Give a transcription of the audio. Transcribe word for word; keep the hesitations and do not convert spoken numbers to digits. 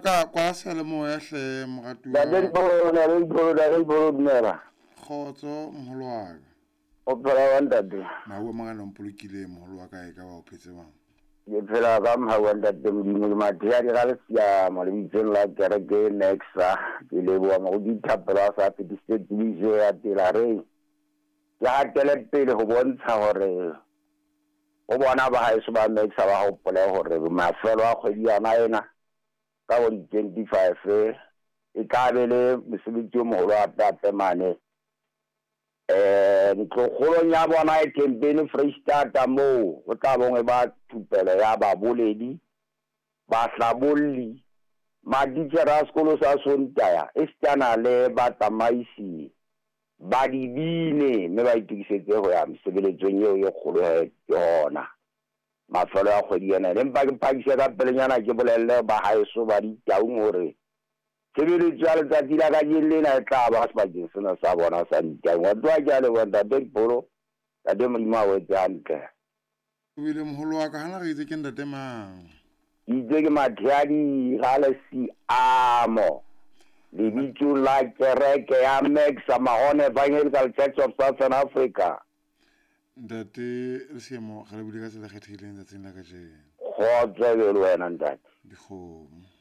ka kwa seyalemoya hle moratuwa. Ntate Dipholo, ntate Dipholo, ntate Dipholo, dumela. Kgotso moholo wa ka. O phela jwang ntate? Mahu a mangata o mpolokile moholo wa ka e ka ba o phetse jwang? Ke phela ka mohau wa ntate Modimo ke Mathea di ga lesiamo lebitsong la kereke e Nexa. Ke leboha moruti Thapelo a sa fetisitse tsebiso ya tsela re ke hatele pele ho bontsha hore ho bona ba haeso ba Nexa ba hopole hore mafelo a kgwedi yona ena ka bo di-twenty-five e tla be le mosebetsi o moholo hape-hape mane eh ntlokgolong ya bona e Thempeni Freistata moo ho tla bong e ba thupelo ya baboledi, bahlabolli, matitjhere a sekolo sa Sontaha esitana le batsamaisi ba dibine, mme ba itokisetse ho ya mesebeletsong eo e kgolo he ke hona mafelo a kgwedi ena. Empa ke phakise ka pelenyana ke bolelle ba haeso ba Ditaung hore tshebeletso ya letsatsi la kajeno lena e tla ba sebakeng sena sa bona sa Ditaung. Wa tloha ke a leboha ntate Dipholo, ntate Modimo a o etse hantle. O bile moholo wa ka hana re itse ke ntate mang? Ke itse ke Matheadi ga Lesiamo lebitsong la kereke ya Maxa Mahone Evangelical Church of Southern Africa. Ntate Lesiamo, re lebile ka tsela e kgethehileng tsatsing la kajeno. Kgotso e be le wena ntate. Dikgomo.